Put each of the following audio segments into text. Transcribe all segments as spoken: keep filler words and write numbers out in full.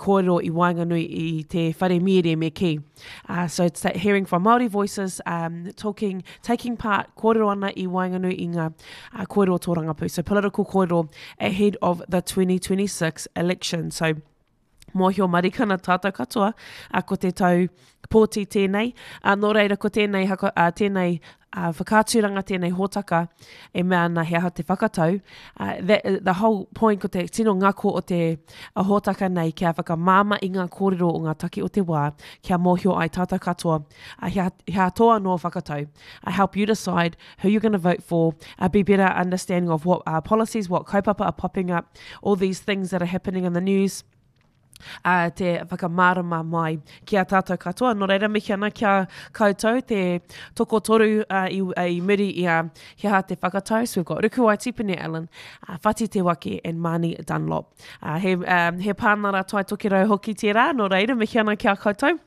kōrero i waenganui i te whare mīere me kī. Uh, so it's that hearing from Māori voices, um, talking, taking part, kōrero ana i waenganui i ngā uh, kōrero tōrangapū. So political kōrero ahead of the twenty twenty-six election. So mōhio marikana tātou katoa, a ko te tau pōti tēnei. A, nō reira, ko tēnei, haka, a, tēnei a, whakaaturanga, tēnei hōtaka e mea ana he aha te whakatau. Uh, that, the whole point, ko te tino ngako o te a hōtaka nei kia whakamāma i ngā kōrero o ngā take o te wā, kia mōhio ai tātou katoa, a, he, he tō anō whakatau. I help you decide who you're going to vote for, uh, be better understanding of what uh, policies, what kaupapa are popping up, all these things that are happening in the news uh, te whakamārama mai ki a tātou katoa. Nō reira, mihi ana ki a koutou te tokotoru uh, i, uh, i muri i a He Aha Te Whakatau. So we've got Rukuwai Tipene Allen, uh, Whati Te Wake and Mani Dunlop. Uh, he, um, he pānara tai tokerau hoki tērā, nō reira, mihi ana ki a koutou.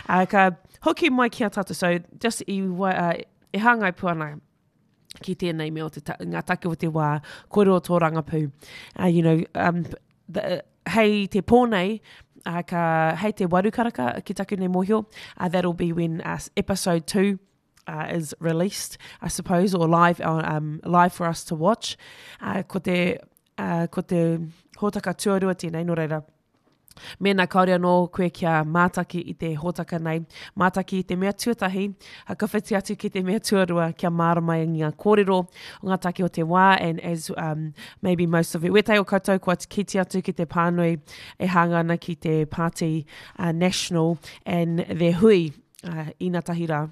Uh, ka hoki mai ki a tātou. So just i, uh, e hāngai pū ana ki tēnei mea o te ta ngā take o te wā, kōrero tōrangapū. Uh, you know, um, the, hei te pō nei, uh, ka, hei te waru karaka ki taku nei mōhio, uh, that'll be when uh, episode two uh, is released, I suppose, or live, on, um, live for us to watch. Uh, ko te, uh, ko te hōtaka tuarua tēnei, nō reira, mēnā kāore anō koe kia mātaki i te hōtaka nei, mātaki i te mea tuatahi, ka whiti atu ki te mea tuarua kia mārama i ngā kōrero o ngā take o te wā, and as um, maybe most of you, wētahi o koutou kua kite atu ki te pānui e hāngai ana ki te Party uh, National and their hui uh, inatahi rā.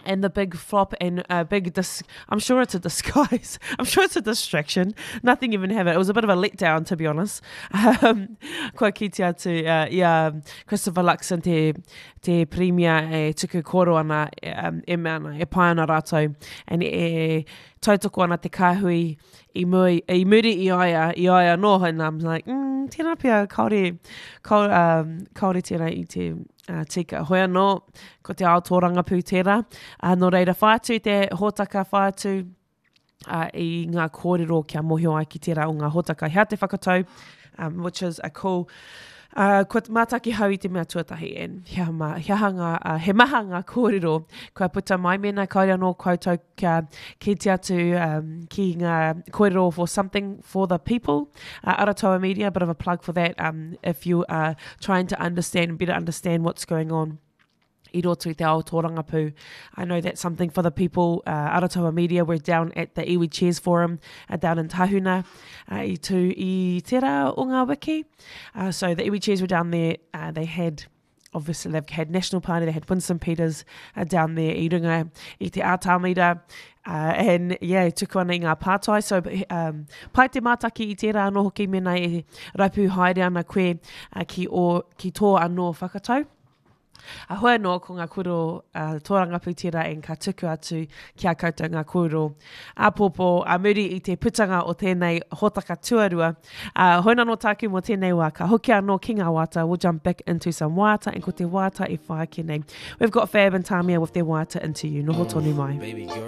And the big flop and a big dis I'm sure it's a disguise. I'm sure it's a distraction. Nothing even happened. It was a bit of a letdown, to be honest. Um, kua kite atu uh, i a Christopher Luxon te, te premier e tuku kōrero ana um, e mea ana, e pai ana rātou and e tautoko ana te kāhui i, mui, i muri i aia, i aia anō, and I'm like, mm, tēnā pia, kaore, kaore, um, kaore tēnā i te uh, tika. Hoi anō, ko te ao tōrangapū tērā. Uh, nō reira, whai atu te hōtaka, whai atu uh, i ngā kōrero kia mōhio ai ki tērā o ngā hōtaka. He Aha Te Whakatau, um, which is a cool. Uh, kua mātaki hau i te mea tuatahi and he aha, he aha ngā, uh, he maha ngā kōrero kua puta mai. Mēnā kāore anō koutou kia kite atu um, ki ngā kōrero for Something for the People, uh, Aratoa Media, a bit of a plug for that um, if you are trying to understand, better understand what's going on i roto i te ao tōrangapū. I know that's Something for the People, uh, Aratoa Media, we're down at the Iwi Chairs Forum uh, down in Tahuna uh, i tū i tērā o ngā wiki. Uh, so the Iwi Chairs were down there, uh, they had obviously they've had National Party, they had Winston Peters uh, down there i runga i te ātamira, uh, and yeah, tuku ana i ngā pātai. So um, pai te mātaki i tērā anō hoki mēnā e rapu haere ana koe uh, ki, o, ki tō anō whakatau. A hoi anō ko ngā kōrero uh, tōrangapū tērā and ka tuku atu ki a koutou ngā kōrero āpōpō a muri i te putanga o tēnei hōtaka tuarua. Uh, hoi anō tāku mō tēnei wā, ka hoki anō ki ngā waiata, we'll jump back into some waiata and ko te waiata e whai ake nei. We've got Fab and Tamia with their waiata, Into You. Noho tonu mai. Baby girl.